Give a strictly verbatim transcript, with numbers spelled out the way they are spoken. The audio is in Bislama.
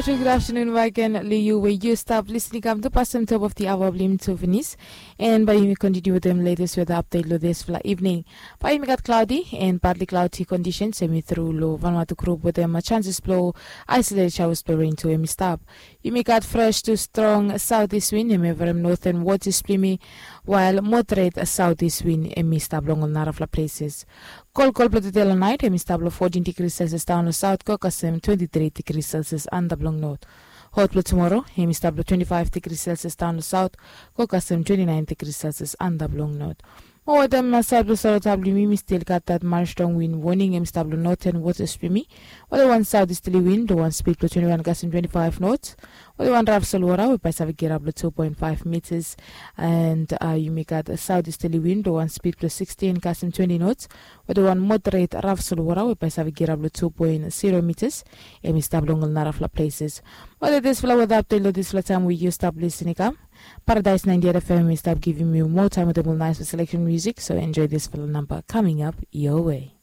Good afternoon back again, Liu, where you stop listening. Come to pass them top of the hour blim to finish. And by you continue with them latest weather update lo this fla evening. By you got cloudy and partly cloudy conditions. Semi through lo Vanuatu group with them a chances blow isolated showers blow rain to emi stop. Yumi gat fresh to strong southeast wind, yumi from northern waters plimi, while moderate southeast wind, yumi stop long ol narafla places. Kolkol blo today lo night, yumi stop lo fourteen degrees Celsius down lo south, go kasem twenty-three degrees Celsius under blong north. Hot blo tomorrow, yumi stop lo twenty-five degrees Celsius down lo south, go kasem twenty-nine degrees Celsius under blong north. Mo wetem saed blo Solo Tabli, yumi still gat that marsh strong wind warning, yumi stop lo northern waters plimi. Wetem wan southeasterly wind, wan speed blo twenty-one kasem twenty-five knots. Wetem wan raf solwara, we by save get up lo two point five meters. And uh, yumi gat southeasterly wind, wan speed blo sixteen kasem twenty knots. Wetem wan moderate raf solwara, we by save get up lo two point zero meters. Yumi stop long ol narafla places. Wetem this fla weather update lo this fla time we you stop listening come. Paradise ninety-eight F M, we stop giving you more time with the nice selection music. So enjoy this fla number coming up your way.